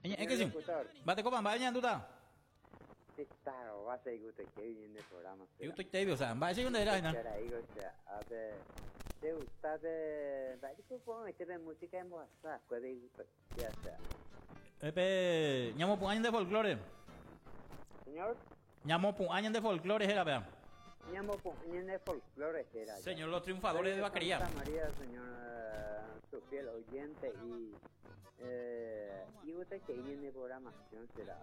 Eñe'ẽke che. Mba'etekópa mba'e ñandúta? Che tarova che igustoitévi ñande programa. Igustoitévi, o sea, mba'éicha nde réra hína? Che raígo che ápe che gusta pe mba'éiko ko'ag̃aite pe música embohasa va'ekue pe igustoitéva che ápe. Pe ñamopu'ã ñande folklore. Señor. Ñamopu'ã ñande folklore héra péva. Ñamopu'ã ñande folklore héra. Señor, los triunfadores de Vaquería. Santa María, señor, su fiel oyente y eh, igustaiterei ñane programación será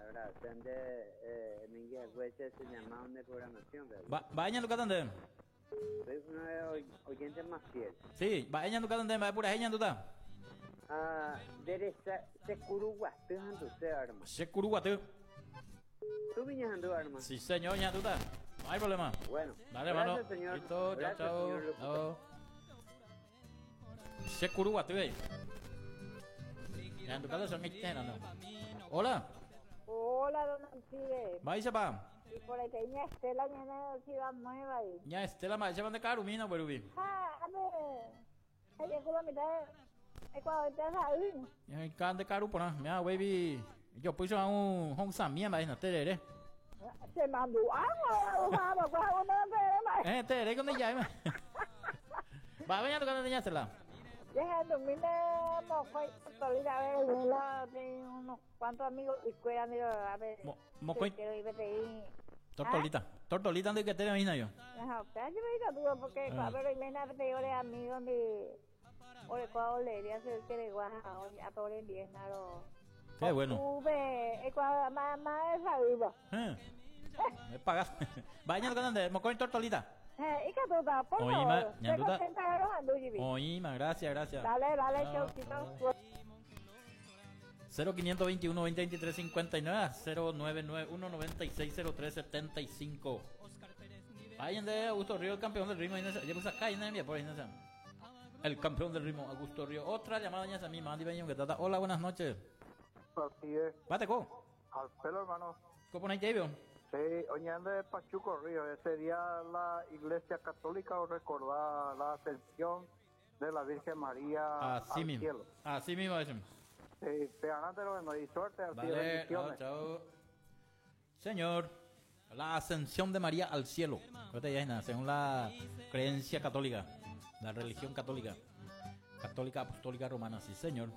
agradecer nde eh, mengi hague che se llama nde programación. Mba'e ñandukáta nde? Soy uno de oyente más fiel. Sí, mba'e ñandukáta nde, mba'e purahéi ñandúta? Ah, nde resa, che kuruguaty handuse, arma. Che kuruguaty. Tú viña handu, arma. Sí, señor, ñandúta. No hay problema. Bueno. Dale, hermano. Gracias, señor. Listo, chao, Gracias, chao. señor locutor. Chao. Che kuruguaty véi. Ñandukáta son no. Hola. Hola, don Alcides. Mba'éichapa? Y por ahí ña Estela ñane Ciudad Nueva ahí. Ña Estela mba'éichapa nde ka'arumína upérupi. Ha, ame, aje la mitad Ecuador te sa'y. Ña nde ka'aru porã. Mira upéipi jopýicha un ho'ysãmía mba'e hína terere. Che mandu'a Eh, terere ko ndija'éma. Mba'épa ñandukáta nde ña Estela? Jahendumína mokõi tortolita a ver, la unos cuantos amigos ikuéra ndive a ver. Mokõi. Quiero ir peteĩ. Tortolita. Tortolita nde yketére oĩna yo. Ajá, upéva jepe ikatu porque Ah. pero oiména peteĩ ore amigo ndi orekóva olería che ykeregua ha oñe'ãta ore ndiéna ro. Qué bueno. Upe eikuaa ma ma esa'ýva. Eh. Me pagas. Mba'e ñandukáta nde, mokõi tortolita. Eh, ikatúta, por Oĩma, favor. ñandúta. Che contenta rohandu jepi. Oĩma, gracias, gracias. Dale, dale, Chao. chaucito. 0521 20 23 59 0991 96 03 75. Ahí ande Augusto Río, el campeón del ritmo. Ya puse acá, ahí por ahí, El campeón del ritmo, Augusto Río. Otra llamada ya esa misma. Andy Beño, que trata. Hola, buenas noches. Así es. Bate, co. Al pelo, hermano. ¿Cómo no hay Sí, oñando de Pachuco Río. Ese día la Iglesia Católica os recordaba la ascensión de la Virgen María Así al mismo. cielo. Así mismo, eso. Sí, te ganaste lo bueno y suerte, así Vale, chao, bendiciones. chao. Señor, la ascensión de María al cielo. Creo ya es nada, según la creencia católica, la religión católica. Católica apostólica romana, sí, señor.